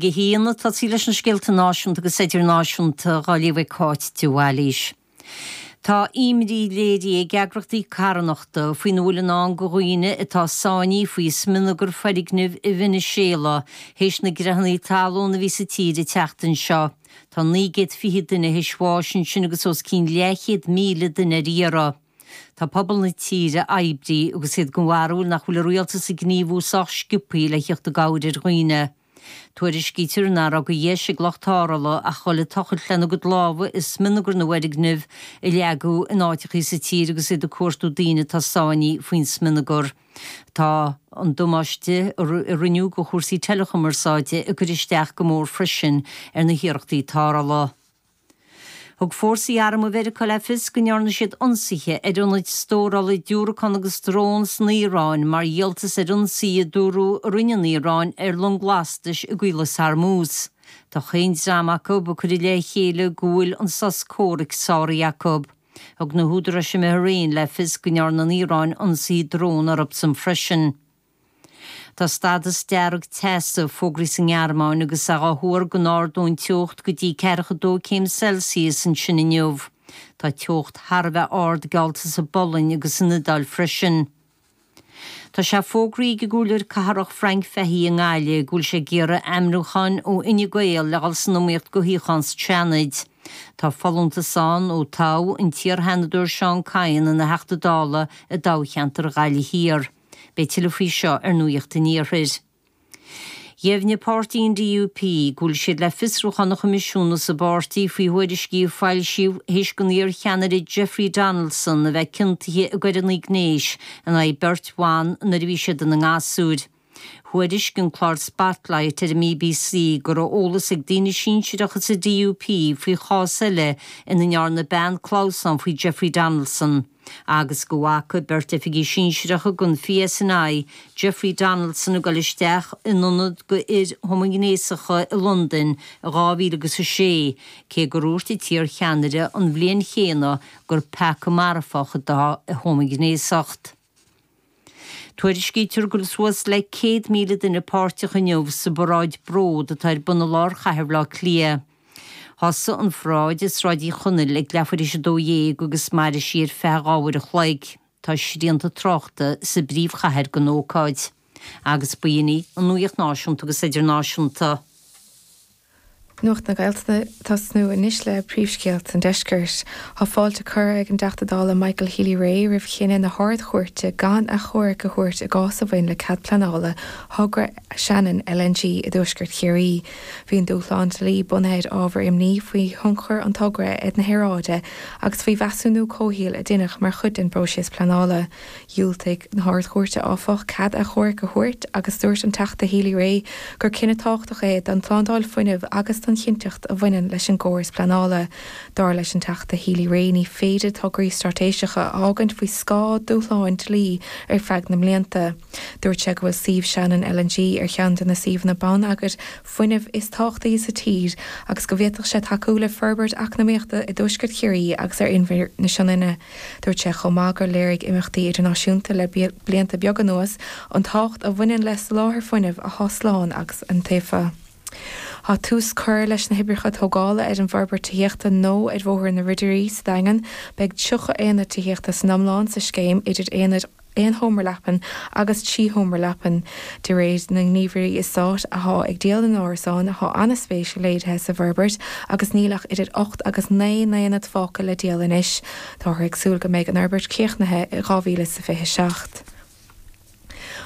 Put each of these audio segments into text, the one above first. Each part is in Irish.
1, Ag tosaí leis na scéalta náisiúnta agus idirnáisiúnta dhá léamh ag Cáit de Bhailís. Tá imní léirithe ag eagrachtaí carthanachta faoina bhfuil i ndán do dhaoine atá sáinnithe faoi smionagar foirgnimh i Veiniséala théis na gcreathanna talún a bhí sa tír an tseachtain seo. Tá 920 duine théis bháis ansin agus os cionn leathchéad míle duine ar iarraidh. Tá pobal na tíre oibrithe agus iad den bharúil nach bhfuil an rialtas ag gníomhú sách sciobtha le theacht i gcabhair ar dhaoine. Tuairiscítear nach raibh de dheis ag lucht tarrthála ach dhul ag tochailt lena gcuid lámha i smionagar na bhfoirgneamh a leagadh in áiteachaí sa tír agus iad ag cuartú daoine atá sáinnithe faoin smionagar. Tá an damáiste a rinneadh do chúrsaí teileachumarsáide ag cur isteach go mór freisin ar na hiarrachtaí tarrthála. Thug fórsaí armtha Mheiriceá le fios go ndearna siad ionsaithe ar ionaid stórála diúracán agus drón san Iaráin mar dhíoltas ar ionsaí a dúradh a rinne an Iaráin ar long lastais i gCaolas Hormuz. Tá chaon dream acu ag cur i leith a chéile go bhfuil an sos comhraic sáraithe acu. Thug na húdaráis i mBahrain le fios go ndearna an Iaráin ionsaí drón orthusan freisin. Tá stádas dearg teasa fógraithe sa nGearmáin agus é á thuar go n-ardóidh an teocht go dtí 42 céim Celsius ansin inniu. Tá teocht thar a bheith ard geallta sa bPolainn agus san Iodáil freisin. Tá sé fógraithe ag an gComhairleoir Cathrach Frank Fahey i nGaillimh go bhfuil sé ag iarraidh ainmniúcháin ó Fhine Gael le dhul san iomaíocht do shuíochán sa tSeanad. Tá folúntas ann ó toghadh an t-iar-Sheanadóir Seán Kyne ina Theachta Dála i dtoghcheantar Ghaillimh Thiar. Beidh tuilleadh faoi seo ar Nuacht an Iarthair. Dheimhnigh páirtí an DUP go bhfuil siad le fiosrúchán a choimisiúnú sa bpáirtí faoi thuairiscí a foilsíodh théis don iar-cheannaire Jeffrey Donaldson a bheith ciontaithe i gcoireanna gnéis in aghaidh beirt bhan nuair a bhí siad ina ngasúir. Thuairisc an clár Spotlight ar an mBBC go raibh eolas ag daoine sinsearacha sa DUP faoi chás eile ina ndearna bean clamhsán faoi Jeffrey Donaldson agus go bhfaca beirt oifigigh sinsearacha den PSNI Jeffrey Donaldson ag dul isteach in ionad do fhir homaighnéasacha i Londain i 2006, cé gur dhúirt an t-iar-cheannaire an bhliain chéanna gur peaca marfach atá i homaighnéasacht. Tuairiscítear go bhfuil suas le 100,000 duine páirteach inniu sa bparáid Bród atá ar bun i lár chathair Bhaile Átha Cliath. Thosaigh an pharáid i Sráid Uí Chonaill ag leathuair théis 12 agus mairfidh sí ar feadh 2 uair a chloig. Tá srianta tráchta sa bpríomhchathair don ócáid. Agus b'in í an nuacht náisiúnta agus idirnáisiúnta. Nuacht na Gaeltachta ag tosnú anois le príomhscéalta an deiscirt. Tá fáilte curtha ag an dTeachta Dála Michael Healy-Rae roimh chinneadh na hArd-Chúirte gan achomharc a thabhairt i gcás a bhain le cead pleanála thogra Shannon LNG i dtuaisceart Chiarraí. Bhí an dúshlán dlí bunaithe ar ábhair imní faoi thionchar an togra ar na haeráide agus faoi mheasúnú comhshaoil a deineadh mar chuid den bpróiseas pleanála. Dhiúltaigh na hArd-Chúirte, áfach, cead achomhairc a thabhairt agus dúirt an Teachta Healy-Rae gur cinneadh tábhachtach é don tslándáil fuinnimh agus don chinnteacht a bhaineann leis an gcóras pleanála. Dar leis an Teachta Healy-Rae ní féidir tograí straitéiseacha a fhágaint faoi scáth dúshláin dlí ar feadh na mblianta. Dúirt sé go bhfuil suíomh Shannon LNG ar cheann de na suíomhanna bonneagair fuinnimh is tábhachtaí sa tír agus go bhféadfadh sé tacú le forbairt eacnamaíochta i dtuaisceart Chiarraí agus ar Inbhear na Sionainne. Dúirt sé chomh maith gur léirigh imeachtaí idirnáisiúnta le blianta beaga anuas an tábhacht a bhaineann le soláthar fuinnimh atá slán agus iontaofa. Tá tús curtha leis na hoibreacha tógála ar an bhforbairt tithíochta nua ar Bhóthar na Ridirí sa Daingean. Beidh 30 aonad tithíochta san iomlán sa scéim, idir aonaid aon sheomra leapan agus 3 sheomra leapan. De réir na ngníomhairí eastáit athá ag díol na n-árasán, thá an-spéis léirithe sa bhforbairt agus níl ach idir 8 agus 9 n-aonad fágtha le díol anois. Táthar ag súil go mbeidh an fhorbairt críochnaithe i 2027.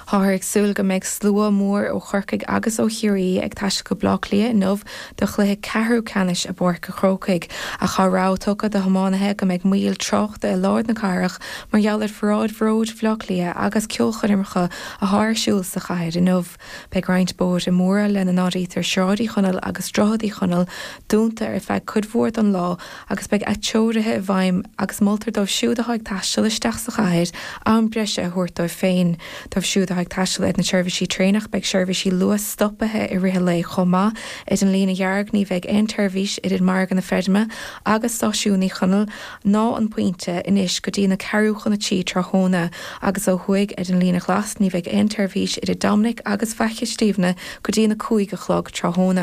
Táthar ag súil go mbeidh slua mór ó Chorcaigh agus ó Chiarraí ag taisteal go Baile Átha Cliath inniu do chluiche ceathrú ceannais i bPáirc an Chrócaigh ach tá rabhadh tugtha do thiománaithe go mbeidh moill tráchta i lár na cathrach mar gheall ar Pharáid Bhróid Bhaile Átha Cliath agus ceolchoirmeacha athá ar siúl sa chathair inniu. Beidh roinnt bóithre móra, lena n-áirítear Sráid Uí Chonaill agus Droichead Uí Chonaill, dúnta ar feadh cuid mhór den lá agus beidh atreoruithe i bhfeidhm agus moltar dóibh siúd atá ag taisteal isteach sa chathair am breise a thabhairt dóibh féin. Dóibh siúd atá. atá ag taisteal ar na seirbhísí traenach, beidh seirbhísí Luas stoptha i rith an lae chomh maith. Ar an líne dhearg, ní bheidh aon tseirbhís idir Margadh na Feirme agus Stáisiún Uí Chonaill ná an Pointe anois go dtí na ceathrú chun a 3 tráthnóna, agus ó thuaidh ar an líne ghlas, ní bheidh aon tseirbhís idir Dominic agus Faiche Stiabhna go dtí na 5 a chlog tráthnóna.